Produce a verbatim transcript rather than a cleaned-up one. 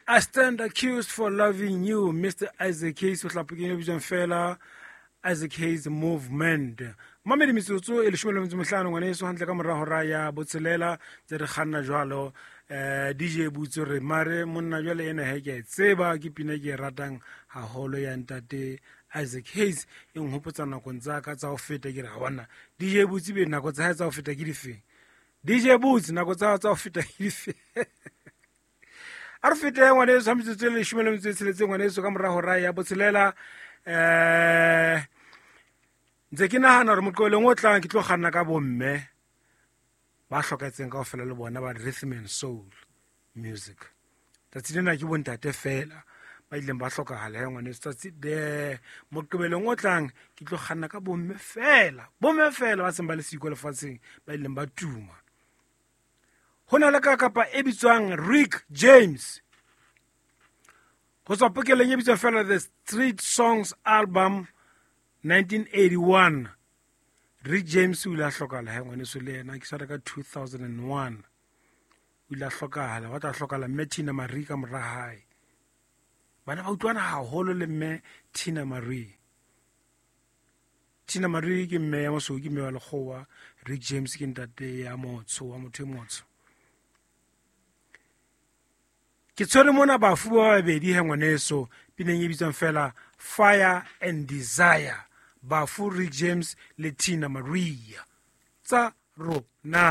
I stand accused for loving you, Mister Isaac Hayes, o hlapokeng e bitswang fela Isaac Hayes Movement. Mamedi, metsotso e leshome le metso mehlano, ngwaneso, hantle ka mora hora ya botshelela, tse re kganna jwalo. eh D J Butse re mare monna jwale ena he ke a e tseba, ke pina ke e ratang haholo ya ntate Isaac Hayes, e nhopotsa nakong tsa ka tsa ho feta. Ke re ha bona D J Butse, be nako tsa hae tsa ho feta ke difeng? D J Butse, nako tsa hao tsa ho feta ke difeng? A re fete, ngwaneso, ha metsotso e leshome le metso e tsheletseng, ngwaneso, ka mora hora ya botshelela. um ntse ke nahana hore moqebelong o tlang ke tlo kganna ka bomme ba hlokahetseng kaofela le bona ba rhythm and soul music. Tsatsi lena ke bontate fela ba ileng ba hlokahala he, ngwaneso. Tsatsi de moqebelong o tlang ke tlo kganna ka bomme fela, bomme fela ba seng ba le siko lefatsheng, ba ileng ba tuma. Ho na le ka kapa e bitswang Rick James, ho tswa pokeleng e bitswang fela The Street Songs Album nineteen eighty-one. Rick James o ile a hlokahala he, ngwaneso, le yena ke tshwara ka two thousand and one o ile a hlokahala. Wa tla hlokahala mme Tina Marie ka mora hae. Bana ba utlwana haholo le mme Tina Marie. Tina Marie ke mme ya mosweu, ke mme wa lekgowa. Rick James ke ntate ya motsho, wa motho e motsho. Ke tshwere mona bafu ba babedi he, ngwaneso, pineng e bitswang fela Fire and Desire, bafu Rick James le Tina Maria tsa rona.